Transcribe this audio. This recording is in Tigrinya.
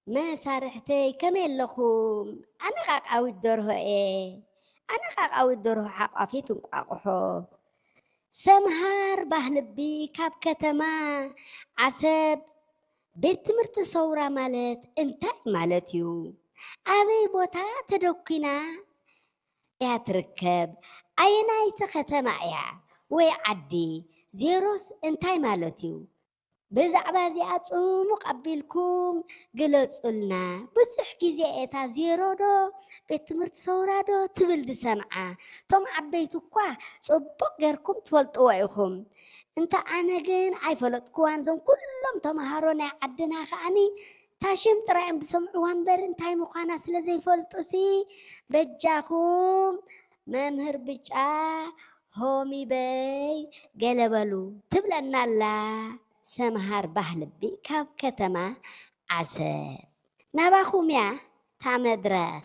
መሳርሕተይ ከመይ ኣለኹም? ኣነ ቃቃዊት ደርሆ እየ። ኣነ ቃቃዊት ደርሆ ሓቋፊት እንቋቑሖ። ሰምሃር ባህልቢ ካብ ከተማ ዓሰብ። ቤት ትምህርቲ ሰውራ ማለት እንታይ ማለት እዩ? ኣበይ ቦታ ተደኲና እያ ትርከብ? ኣየናይቲ ከተማ እያ ወይ ዓዲ? ዜሮስ እንታይ ማለት እዩ? ብዛዕባ እዚኣ ጽሙቕ ኣቢልኩም ግለጹልና። ብዙሕ ግዜ እታ ዜሮ ዶ ቤት ትምህርቲ ሰውራ ዶ ትብል ዝሰምዓ። እቶም ዓበይቲ እኳ ጽቡቕ ጌርኩም ትፈልጥዎ ኢኹም። እንተ ኣነ ግን ኣይፈለጥኩዋን። እዞም ኩሎም ተምሃሮ ናይ ዓድና ከኣኒ ታሽም ጥራይ እዮም ዝሰምዕዋ እምበር እንታይ ምዃና ስለ ዘይፈልጡሲ፣ በጃኹም መምህር ብጫ ሆሚ በይ ገለ በሉ ትብለና ኣላ ሰምሃር ባህልቢ ካብ ከተማ ዓሰብ። ናባኹም እያ እታ መድረኽ።